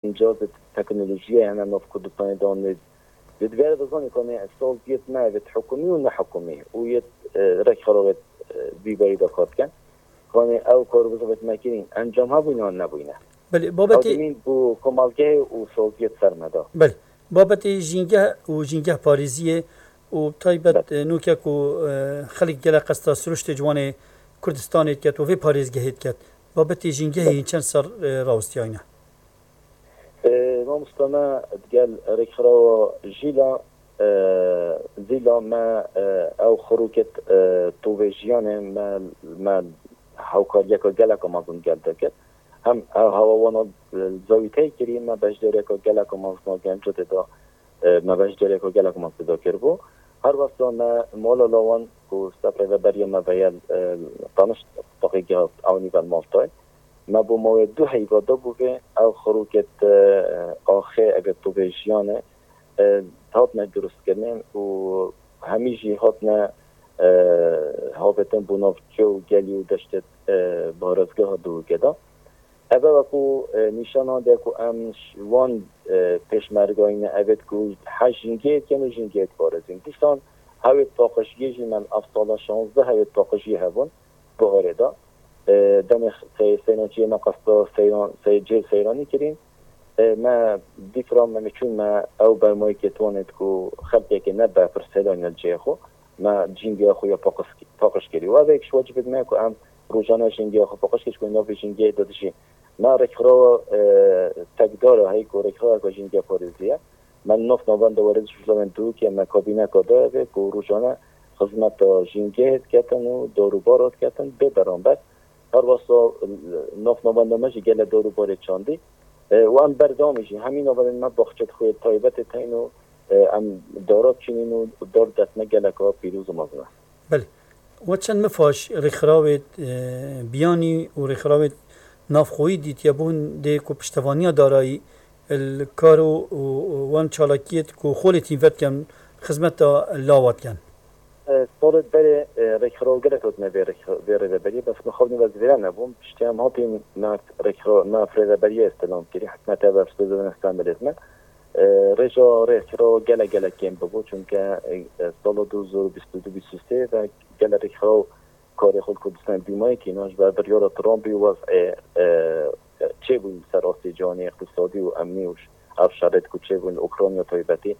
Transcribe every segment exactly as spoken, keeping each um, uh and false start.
Îmcaz di teknolojiyê hene nav Kurdistanê de anê. Di divê de zanî ku ne saziyet me ev hikûmî û ne hikûmî û yê, e, rêkxerawê, e, vî berî de kar dikin. Ku ne ew kar bi zêde me kirîn, encam hebûyne an nebûyne. Belê, Ew babetê dimîn bû komelgehê û saziyet ser me da. Belê. Babetê jîngeh û jîngeh parêziyê û taybet, Belê. e, nûke ku, e, xelk gelek qesta siruştê ciwanê Kurdistanê diket û vê parêzgehê diket. Babetê jîngehê Belê. Hîn çend ser, e, rawestiyayne? E, mamosta me digel rêkxirawa Jîla, e, Zîla me, e, ew xirûket, e, tovê jiyanê me, me hewkariyeka geleka mezin gel de kir. Hem ew hewa wana, e, zawîtey kirî, me beşdariyeka geleka mezin a genco tê de, e, me beşdariyeka geleka mezin tê de kiribû. Her wesa me mala lawan ku sefrê ve beriya me veyel, e, tanişt taqî gihat ewnî vel Maltay. Me bo mawê du heyva da bû vê ew xirûkê te axê eger tu vê jiyane, e, hatine durustkirinê û hemî jî hatine, e, havêtin bo nav ço û gelî û deştê, e, parêzgeha Dûrûkê de. Ev e ku, e, nîşana de ku em ş-, wan, e, pêşmergayî ne evêt ku hej jîngê dikin û jîngê diparêzin. Dîsan hewêt paqijiyê jî me ev sala şazdeh hewêt paqijiyê hebûn. Buharê de. E, demê sey-, seyrançiyê me qesta seyran, sey-, cêr seyranî kirîn. E, me dîfra me, me çûn me ew bermayekê tonet ku xelkekê ne bepir seyranî li cihê xwe. Me cîngiya xwe ya paqis-, paqij kirî. Û ev êk ji wecibêt me ku em rojane cîngiya xwe paqij kirî, ku navê cîngiyê de dijî. Me rêkxirawa, e, tekdara hey ku rêkxiraweka cîngiya parêziye. Me li nav navenda werêz û şûşlavên Dûrûkê me kabîneka dayê vê ku rojane xizmeta jîngehê diketin û dar û bara diketin bê beramber. Her wesa, e, nav navenda me jî gelek dar û barê çandî. E, û em berdewamî jî hemî navendên me baxçet xwe yê taybetê teyn û, e, em dara çînîn û dar dest me geleka pîroz û mezin e. Belê. We çend mifaş rêkxirawê, e, biyanî û rêkxirawê navxweyî dîtiye bûn dê ku piştevaniya darayî li kar û, û, û wan çalakiyêt ku xolê tîn vedikin xizmeta lawa dikin? E, salê berê, e, rêkxiraw gelek hatine vê rêkx-, vê rêveberiyê, bes min xwe nîvez vêre nebûm. Piştî em hatîn nav rêkxiraw, nav rêveberiyê îstilam kirî, hikûmeta ev ev sözlerin îstem bilêt me. E, rêja rêkxiraw gelek gelek kêm bibû, çunke, e, e, sala du hezar û bîst û du bîst û sê ve gelek rêkxiraw karê xwe li Kurdistanê dîmayê kî, ji ber biryara Trumpî û wez'ê, e, çêbûyî li ser astê cîhanê, îqtisadî û emnî û ş-, ev şerêt ku çêbûyî li Ukrayna taybetî,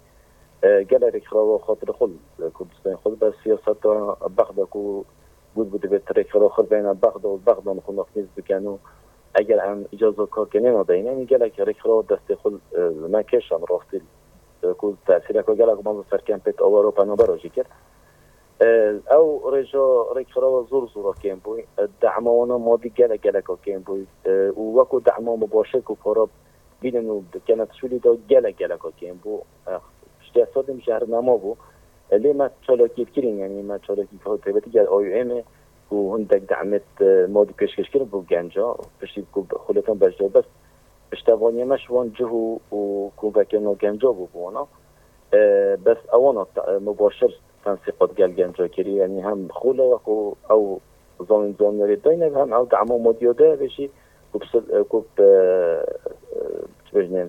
e, gelek rêkxirawa xatirê xwe li Kurdistanê xwe li ber siyaseta Bexda ku got bû divê rêkxiraw xwe bêne Bexda û Bexda xwe nafnîz bikin û eger em îcaza karkirinê nadayîne, yanî gelek rêkxirawa destê xwe, e, li me kêşan rastî, e, ku tesîreke gelek mezin ser kempêt awaro penabera jî kir. E, ew rêja rêkxirawa zor zora kêm bû. E, dema wana madî gelek geleka kêm bû. E, û weko dema mubaşir ku para bînin û bi kenetşûlî de gelek geleka kêm bû. E, piştî sedîm jehrnama bû. E, lê me çalakiyê kirîn, yanî me çalakî taybetî gel A U M'ê ku hindek demêt, e, madî pêşkêş kirin bo genca, piştî ku xulêtan beşdar bes. Piştevaniya me ji wan cih û, û ku vekirina genca bû bi wana. E, bes ewana te-, e, mubaşir tensîqat gel genca kirî, yanî hem xula wek û ew zanîn zaniyarî dayne, hem ew dema madiya dayê jî ku bi sil-, e, ku bi, e, e, çi bêjinê,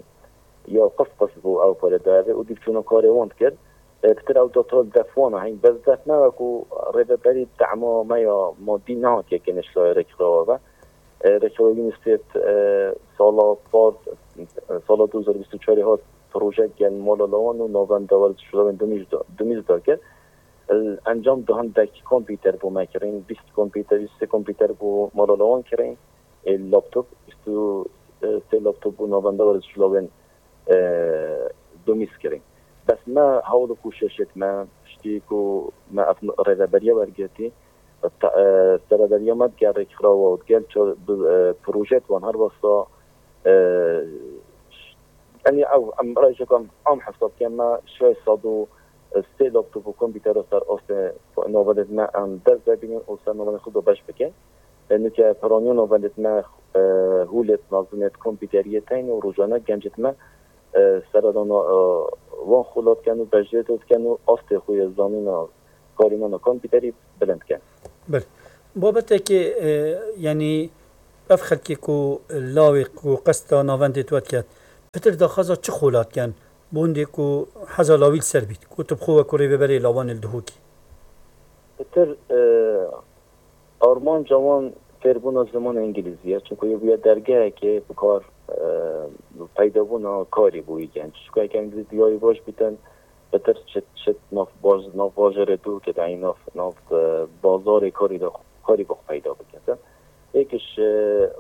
ya qis qis bû ew pare dayê û dîv çûna karê wan dikir. E, pitir ew datal def wana hîn, bes def me wek û rêveberî dema me ya madî nehatiye kirin ji layê rêkxirawa ve. E, rêkxirawa UNICEF, e, sala par, e, sala du hezar bîst û çarê hat proje gel mala lawan û navenda werdiş û lawên dumîz da, dumîz da kir. E, encam du hindek kompîter bû me kirin, bîst kompîter, bîst sê kompîter bû mala lawan kirin, e, laptop, bîst û sê laptop bû navenda werdiş û lawên, e, dumîz kirin. Bes me hewl û koşeşêt me, piştî ku me ev rêveberiya wergirtî, te-, e, serederiya me digel rêkxirawa û digel çar-, bi, e, projet wan her wesa, e, yanî ew em rêjek em am hesab ken me şeş sed û sê laptop û kompîtera ser astê navendên me em dest de bînin û ser navendên xwe de beş bikin. E, nike piraniya navendên me, e, hûlêt, nazinêt, kompîteriyê teyn û rojane gencêt me, e, seredana, e, wan xula dikin û beşdêt dikin û astê xwe yê zanîna karînana kompîterî bilind dikin. Belê. Babetekê, e, yanî ev xelkê ku lawê ku qesta navendê tu ket, Pitir daxwaza çi xolat ken, bondê ku heza lawî li ser bît, ku tu bi xwe wekû rêveberê lawanê li Dihokî? Pitir, e, armanca wan fêrbûna zimanê îngilîzî ye, çunku yê bûye dergehekê bi kar, e, peydabûna karî bo wî genc. Çunku heke îngilîzî diyayî baş bîtin, pitir çit, çit nav baz-, nav bajarê Dihokê de, yanî nav, nav, e, bazarê karî de, karî bo xwe peyda bikin. Êk ji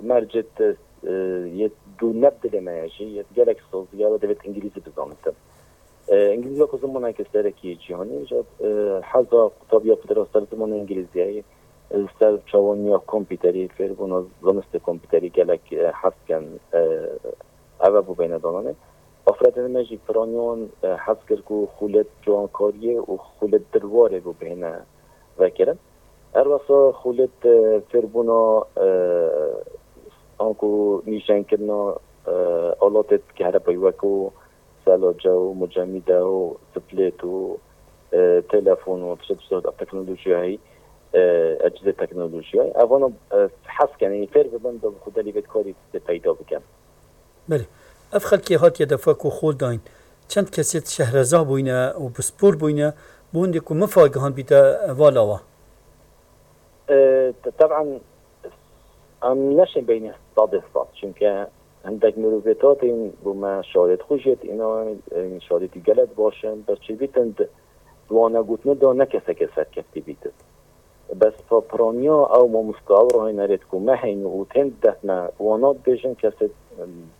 mercê te, e, yê dû ne bi dilê me ye jî, yê gelek sazî ye, we divêt îngilîzî bizanitin. E, îngilîzî wekû zimaneke serekî yê cîhanê, ji, e, heza qutabiya pitir ser zimanê îngilîzî ye, e, ser çawaniya kompîterî, fêrbûna zanistê kompîterî gelek, e, hez ken, e, ev e bo beyne dananê. Afirandinê me jî piraniyan, e, hez kir ku xûlêt ciwankariyê û xûlêt dilwarê bo bihêne vekirin. Her wesa xûlêt, e, fêrbûna, e, anku nîşenkirina, e, alatê kehrepayî wekû selace û mucemîde û splêt û, e, telefon û tişt, tişt teknolojiyayî, e, ecizê teknolojiyayî. Evana, e, hez kenê, fêr bibin, bi xwe delî vê karî tê peyda bikin. Belê. Ev xelkê hatiye defa ku xol dayîn, çend kesê şehreza bûyne û pispor bûyne, bi hindê ku mifa gihandbîte vala wa? E, te-, teb'en, em neşên beynî sedê sed, çunke hindek mirovêt hatîn bo me şarêt xwe jêt, îna, e, şarêtî gelek baş in, bes çêbîtin di, di wana gotinê de ne keseke serkeftî bîtin. Bes pa piraniya ew mamosta, ew rahênerêt ku me heyne û tên def me wana dibêjin, kesê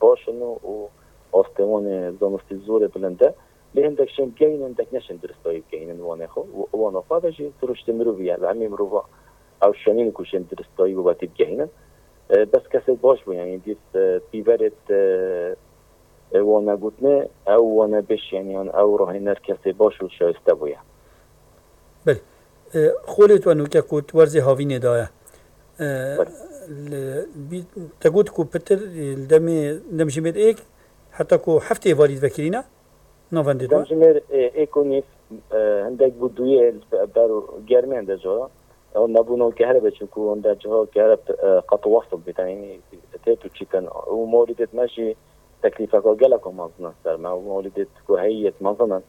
baş in û, û astê wan ê zanistî zor ê bilind e. Lê hindek şên bigehînin, hindek neşên diristayî bigehînin wanê xwe. Û wana xwe ve jî siruştê mirovî ye. Li hemî mirova ew şenîn ku şên diristayî wî wetî bigehînin. E, bes kesê baş bû, yanî dîv, e, pîverêt, e, e, wana gotinê, ew wana beş, yanî, yan ew rahêner kesê baş û şayiste bûye. Belê. E, xolê tu nûke ku tu werzê havînê daye. E, Belê. li, bî-, te got ku pitir, e, li demê, demjimêr êk, heta ku heftê êvarî vekirîne, navendê tu? Demjimêr, e, êk û nîv, e, hindek bû duyê ber germên de cara. Ew nebûna kehre be, çunku hinde ciha kehre, e, qet wasl bîtin, yanî têt û çîtin. Û mawlîdêt me jî teklîfeka geleka mezin in ser me. Û mawlîdêt ku heyî yêt mezin in.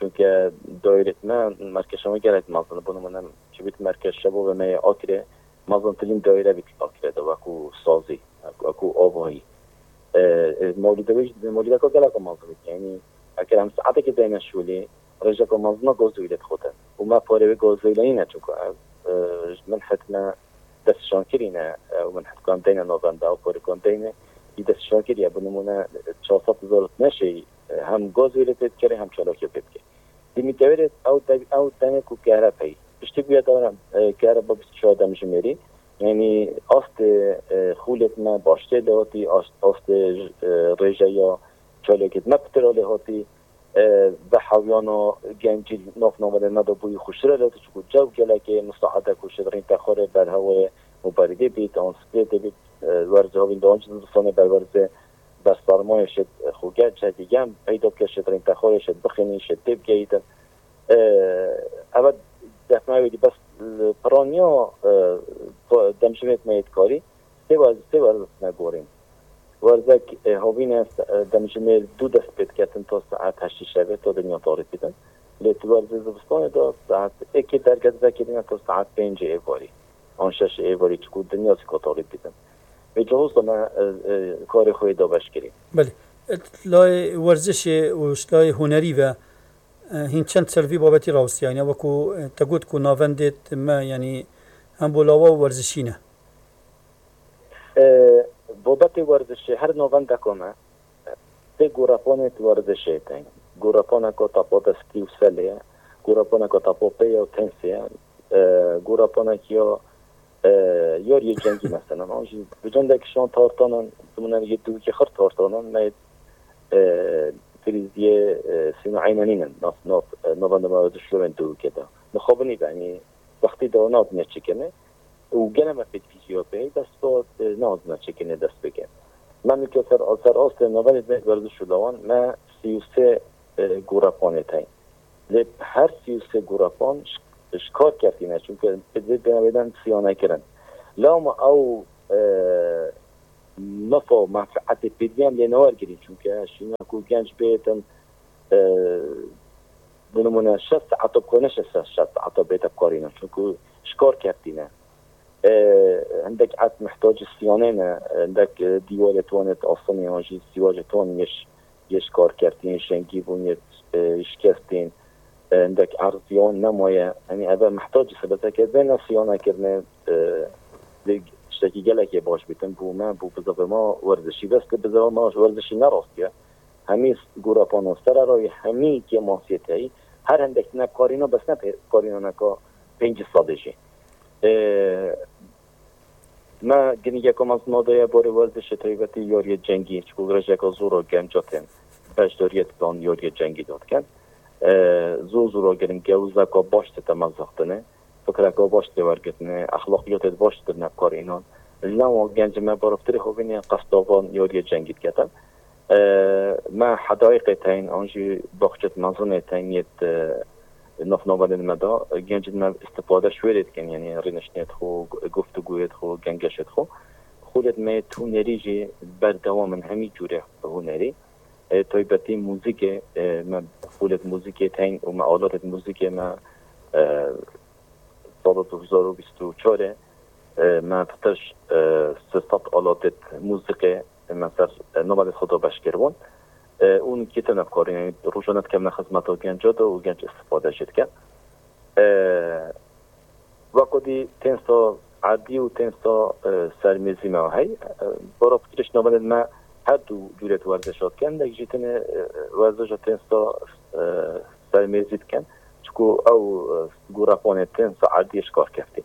Çunke daîrêt me, merkeşa me gelek mezin in. Bo nimûne, çi bît merkez şebabê me yê Akrê, mezintirîn daîre bît Akrê de, wekû sazî, wekû avahî. E, e, mawlîde wê jî, mawlîdeka geleka mezin bît. Yanî, eger em saetekê deyne şolê, rêjeka mezin a gaz û wêlê dixwite. Û me parê wê gaz û wêleyî ne, çunku ev, e, ji min hetine destşankirî ne, e, û min hetkan deyne navenda, ew parêkan deyne, yî destşankirî ye. Bi nimûne, çar sed hezar neşeyî, e, hem gaz û wêlê pê bikere, hem çalakiya pê bike. Di mîtewêrê ew de-, ew dene ku kehre pey. Piştî bûye dara, e, kehre ba bîst û çar demjimêrî. Yanî astê, e, xûlêt me baştê lê hatî, ast-, astê, e, rêjeya çalakêt me pitir lê hatî. E, vehawiyana gencî nav navendê me de bûyî xweştir e, lê çiku cew gelekê misaade ku şêt rîntexwarê berhewê û berîdê bît, an splêtê bît, e, werzê havîn de an jî zivistanê berwerzê bersarmayê şêt xwe genc hekî gen peyda bike, şêt rîntexwarê şêt bixînî, şêt tê bigehîtin. E, eve defna wê dî bes li piraniya, e, demjimêt me yê dikarî sê werz-, sê werzişine gorîn. Werzek, e, havîne, e, demjimêr du dest pê diketin ta saet heştê şevê, ta dinya tarî bidin. Lê tu werzê zivistanê de saet êkê derget vekirîne ta saet pêncê êvarî. An şeşê êvarî çiku dinya zî ka tarî bidin. Vê cihozda me, e, e, karê xwe yê dabeş kirî. Belê. E, layê werzişê û ji layê hunerî ve, e, hîn çend ser vî babetî rawestiyayne, wekû, e, te got ku navendêt me, yanî hem bo lawa û werzişî ne. E, babetê werzişê her navendeka me, e, sê gorepanê di werzişê de ye. Gorepaneka tapa destî û selê ye, gorepaneka tapa pê ye û tensê ye, e, gorepanekî ya, e, yariyê cengî mesela. An jî bi cendek şan tartanan, dimûne yê dûkê xir tartanan, me, e, krîziyê, e, sîno eynenînin, nav, nav, e, navenda me dişlorên dûkê de. Nixabinî be, yanî wextî de navdinya çêkirinê. Û gene me pêt fîziya pê, dest bi, e, nehatiye çêkirinê dest pê ke. Me nûke ser, ser astê navendê me werziş û lawan, me sî û sê, e, gorepanê tey. Lê her sî û sê gorepan ji, ji kar ketîne, çunke bi vê dene wêden siya nekirin. Lewma ew, e, mefa û menfeetê pêdivî em lê newergirîn. Çunke şîna ku genc bêtin, e, bi nimûne şeş saeta bi xwe neşe ser şeş saeta bête bikarîne. Çunku ji kar keftîne. E, hindek erd mihtacî siyanê ne, hindek, e, dîwarê tonê astinê an jî sîwacê ton yê ş-, yê ji kar keftîn, yê şengî bûn, yê, e, şikestîn, e, hindek erziyan nemaye. Yanî eve mihtacî sebeteke vê ne siyane kirine, e, lê tiştekî gelekê baş bîtin bû me, bû bizavê me werzişî. Bes lê bizavê me werzişî ne rastiye. Hemî gûrapano sererayî, hemî kêmasiyê teyî, her hindek ne karîna, bes ne pê-, karîna neka pêncî sedê jî. E, me girîngiyeke mezin daye barê werzişê taybetî yariyê cengî, çiku rêjeka zor a genca tên beşdariyê didan yariyê cengî de dikin. E, zor zor a girîng e û zeka baş dide mezixtinê, fikreka baş tê wergirtinê, exlaqiyatê baş didine karînan. Lewa genca me baraftirê xwe bînê qestavan yariyê cengî diketin. E, me hedayîqê teyn an jî baxçet mezinê teyn yêt, e, navnavendên me da, gencên me îstifade ji wê rê dikin, yanî rêniştinê xwe, guftugûyê xwe, gengeşê xwe. Xulêt me yêt hunerî jî berdewam in hemî cûrê hunerî. E, taybetî muzîkê, e, me xulêt muzîkê teyn û me alatêt muzîkê me, e, sala du hezar û bîst û çar e, me fitir, e, sê sed alatêt muzîkê me ser, e, navendê xwe de beş kiribûn. E, û nûkî tune bi karî, yanî rojane dikevine xizmeta genca de û genc îstifade jê dike. E, weko dî tênsa erdî û tênsa, e, sermêzî me hey. E, bara fikrê ji navendên me her du cûrê werzişa dikin. Hindek jî tune, e, werzişa tênsa, e, sermêzî dikin. Çiku ew, e, gûrepanê tênsa erdî ji kar keftî.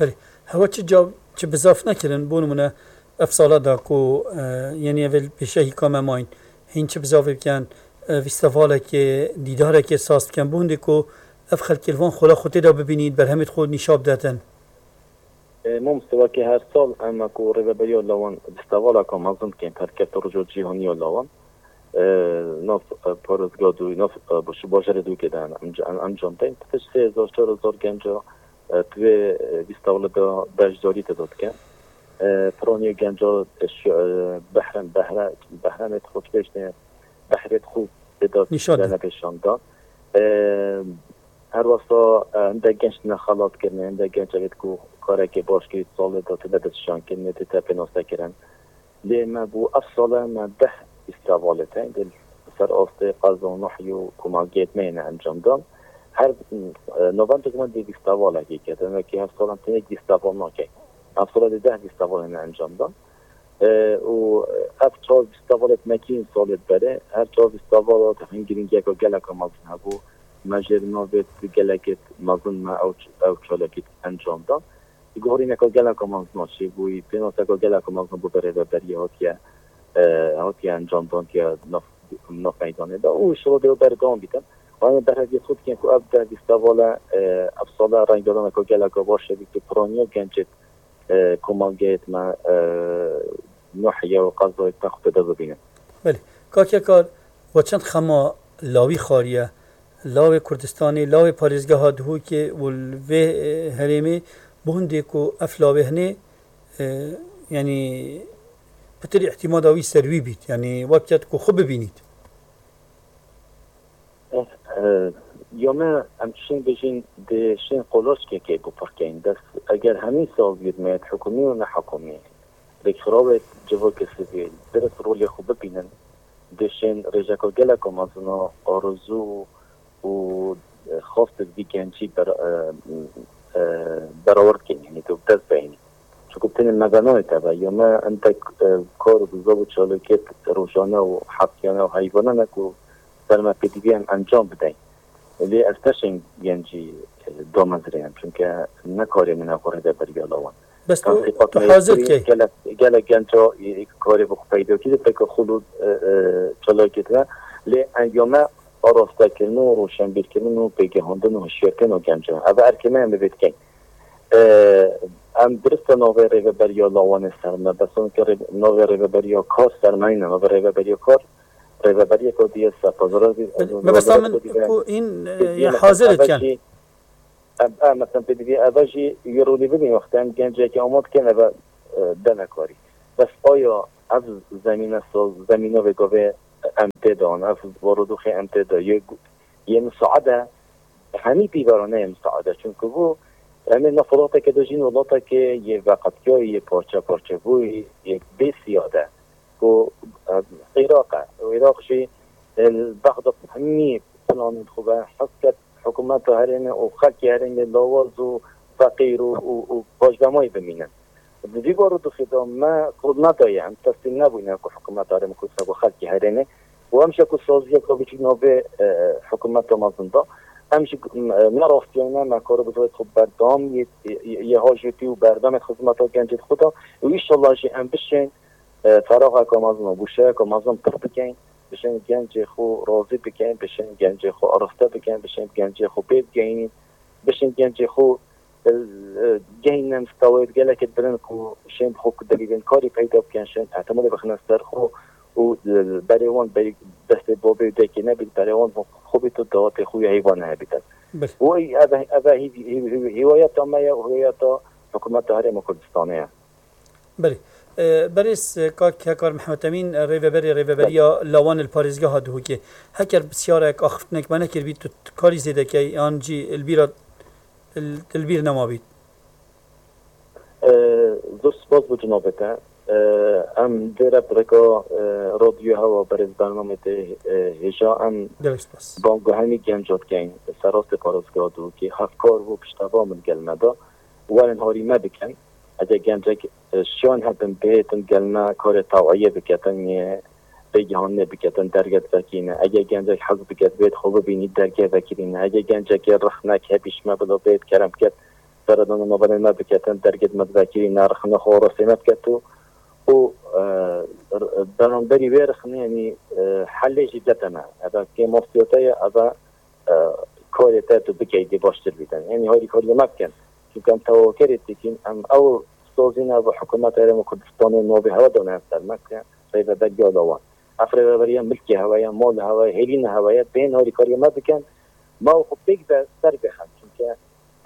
Belê. Hewa çi cav, çi bizaf nekirin, bo nimûne ev sala da ku, e, yenî ev ê pêşehîka me mayîn, hîn çi bizavê bikin, e, fîstevalekê, dîdarekê saz bikin, bo hindê ku ev xelkê li van xola xwe tê de bibînît, berhemêt xwe nîşa bidetin. E, mamoste, wekî her sal em ku rêveberiya lawan fîstevaleka mezin dikin, perkefta roja cîhanî ya lawan, e, nav, e, parêzgeha dû, nav, e, ji bajarê dûkê de em, em, em encam deyn. Pişt sê hezar, çar hezar genca, e, di vê, e, fîstevalê de beşdarî tê de dikin. E, piraniya genca, e, şu, e, behre, behre, behremê xwe dibêjne, behrê xwe tê de nîşan de. Dene pêşan dan. E, her wesa, e, hindek genç tine xelat kirine, hindek genç evêt ku karekê baş kirî salê de tê de destşan kirine, tê de pênase kirin. Lê me bû ev sale me deh fîstevalê te, dê ser astê qeza Nuhiyê û komagiyêt me yêne encam dan. Her, e, november me dê fîstevalekê ke, demek ki her sal em tenê fîsteval nakin. Ev sale dê deh fîstevalê me encam dan. E, û ev çar fîstevalêt me kîn salêt berê, her çar fîstevala hingirîngiyeka geleka mezin hebû. Me jê re navêt gelekêt mezin me ew ç-, ew çalakî encam dan. Guherîneka geleka mezin a çêbûyî, pênaseka geleka mezin bû bi rêveberiyê hatiye, e, hatiye encamdan tiye nav, nav meydanê de. Û inşallah dê berdewam bîtin. Em berheviyê xwe dikin ku ev deh fîsteval e, ev sale rengedaneka geleka baş e, bî ku piraniya gencêt, e, komageyêt me, e, Nuhiye û qezayêt me xwe tê de bibînin. Belê. Kak Yakar, we çend xema lawî xwariye? Lawê Kurdistanê, lawê parêzgeha Duhokê û li vê, e, herêmê, bo hindê ku ev lawê hinê, e, yanî pitir îhtimada wî ser wî bît, yanî wek ket ku xwe bibînît. Eh, eh, ya me em şên bijîn dê şên qolaçkekê bipirkeyn. Dest eger hemî saziyêt me yêt hikûmî û nehikûmî, rêkxirawêt civakê sivîl, dirist rolê xwe bibînin, dê şên rêjeka geleka mezin a arezû û, e, xwest vî gencî ber-, e, e, berawar dikin, yanî tu bi dest beyînî. Çunku tenê me ve nayê teve, ya me entek, e, kar û bizov û çalakiyet rojane û heftiyane û heyvane ne ku ser me pêdivî em encam bideyn. Lê ez teşên gencî, e, damezrênim, çunke ne karê min e xwe rêveberiya lawan. Bes tu, Tenqîqat tu me hazir yekî key. Gelek, gelek genca, e, karê bi xwe peyda kî de peke xul û, e, e, çalakiyet ve. Lê encame arastekirin û roşenbîrkirin û pêgehandin û hişyarkirin û gencan. Ev erkê me em bi vê dikeyn. E, em dirist e navê rêveberiya lawanê ser me, bes onke rê-, navê rêveberiya kar ser me nîne, navê rêveberiya kar, rêveberiyeke dî ye ser pazara. Belê, me bes min ku în, e, hazir dikin. Em, em, mesela pêdivî eve jî wî rolî bibîn, wextê em gencekî ama dikin eve, e, dene karî. Bes aya ev zemîne soz, zemîna vê gavê em tê de an, ev barodoxê em tê de yê, yê misaade, hemî pîvara neyê misaade. Çunku bû, em ê nav welateke de jîn, welatekê yê veqetiyayî, yê parçe parçe bûyî, yê bê siyade. Ku, e, Iraq e. Û Iraq jî, e, Bexda hemî planên xwe ve hez ket, hikûmeta herêmê û xelkê herêmê lawaz û feqîr û, û, û paşvemayî bimînin. Di vî barodoxê de me qul nedaye, em teslîm nebûyne ku hikûmeta herêmê Kurdistan ku xelkê herêmê û em ji ku saziyeke biçûk navê, e, hikûmeta mezin de. Em ji, e, ne rastiyane me karo bi xwe berdewam yê, yê, yê hajêtî û berdemê xizmeta gencê xwe de û înşallah jî em bişên, e, feraxeke mezin û bûşeyeke mezin pir bikeyn, bişên gencê xwe razî bikeyn, bişên gencê xwe arixte bikeyn, bişên gencê xwe pê bigehînin, bişên gencê xwe, e, e, gehînin stawayê gelekê bilind ku şên xwe ku delîlên karî peyda bikin, şên ehtimalê bixine ser xwe û, e, berê wan berî destê babê û dayikê nebît, berê wan xwe bît û dawatê xwe ya heyvan hebîtin. Bil. Û ev, ev, ev hîv-, hîv-, hîv-, hîwayeta me ye û hîwayeta hikûmeta Herêma Kurdistanê ye. Belê. E, berêz, e, kak Hekar Mihemed Emîn, e, rêveberê Rêveberiya Lawan li parêzgeha Duhokê. Heker pisyarek axiftinek me nekiribî, tu, tu karî zêde key, yan jî li bîra, li, li bîr nemabît? E, zor spas bo cinabê te. E, em vê re bi rêka, e, radyoya hewa berêz bernamê te, e, hêja em Gelek spas. Bang û hemî genca dikeyn, serastê parêzgeha Duhokê, hevkar û pişteva min gel me de. Werin harî me bikin. Eger gencek, e, şiyan hebin, bihêtin gel me karê taweyê biketin, yê bêgihanê biketin, derge divekîne. Eger gencek hez biket, bêt xwe bibînî, derge vekirîne. Eger gencekê rixnek hebî ji me bila bêt kerem ket, seredana navberên me biketin, dergê me divekirîne, rixine xwe rastê me biket û, û, e, r-, beramberî wê rixinê, yanî, e, helê jî dete me. Eve kêmosiyete ye, eve e, karê te tu bikey dê baştir bîtin. Yanî harîkariyê me bikin. Çunke em tewakerê dikin, em ew sozîne bi hikûmeta Herêma Kurdistanê navê hewe dane ser me ke rêveberiya Lawan. Ev rêveberiya milkê hewe ye, malê hewe ye, hêlîna hewe ye. Bên harîkariyê me bikin. Me û xwe pêk be ser bêxin. Çunke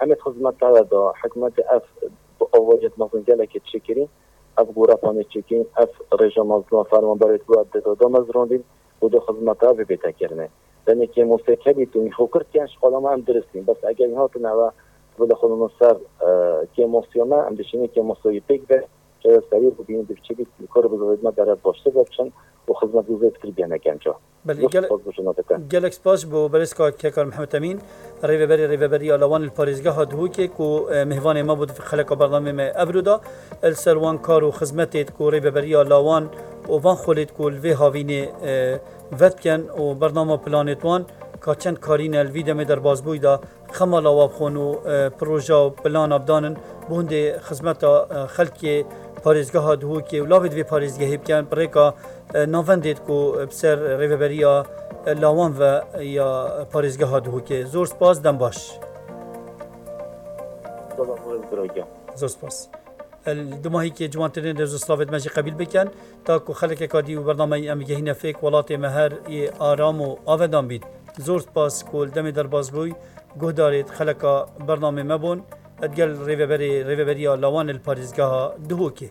em ê xizmeta hewe da, hikûmetê ev bi avariyet mezin gelekê çêkirî, ev gorepanê çêkirî, ev rêja mezin fermanberê ku ev dê da, da mezrandîn, û do xizmeta vê bête kirine. Tenê kêmosê kevî tu mîxo kir diken, ji xwe lama em dirist in. Bes eger hatin eve, tu bile xwe lama ser, e, kêmosiya me, em dişînin kêmosiya wî pêk be, çe serî bibînin, di biçî bît, li kar bi zêde me deret baştir ve biçin û xizmet wî zêdetir biyene genca. Belê, Zor gel-, spas bo şima dike. Gelek spas bo berêz kak Hekar Mihemed Emîn, rêveberê Rêveberiya Lawan li parêzgeha Duhokê ku, e, mêvanê me bû di xeleka bernamê me evro da. Li ser wan kar û xizmetê ku Rêveberiya Lawan û van xolêt ku li vê havînê, e, vedikin û bernama planêt wan ka çend karî ne li vî demê derbazbûyî de xema lawa bixwin û, e, proja û plana bidanin bo hindê xizmeta, e, xelkê parêzgeha Duhokê û lavê di vê parêzgehê bikin, bi rêka, e, navendêt ku bi ser rêveberiya, e, Lawan ve ya parêzgeha Duhokê. Zor spas, dem baş. Zor spas. El, dumahîkê ciwantirên rêz û slavêt me jî qebîl bikin. Ta ku xelekeka dî û bernameyê em gehîne fêk, welatê me her yê aram û avedan bît. Zor spas ku li demê derbas bûy, guhdarêt xeleka bernamê me bûn. Digel rêveberê, rêveberiya Lawan li parêzgeha Duhokê.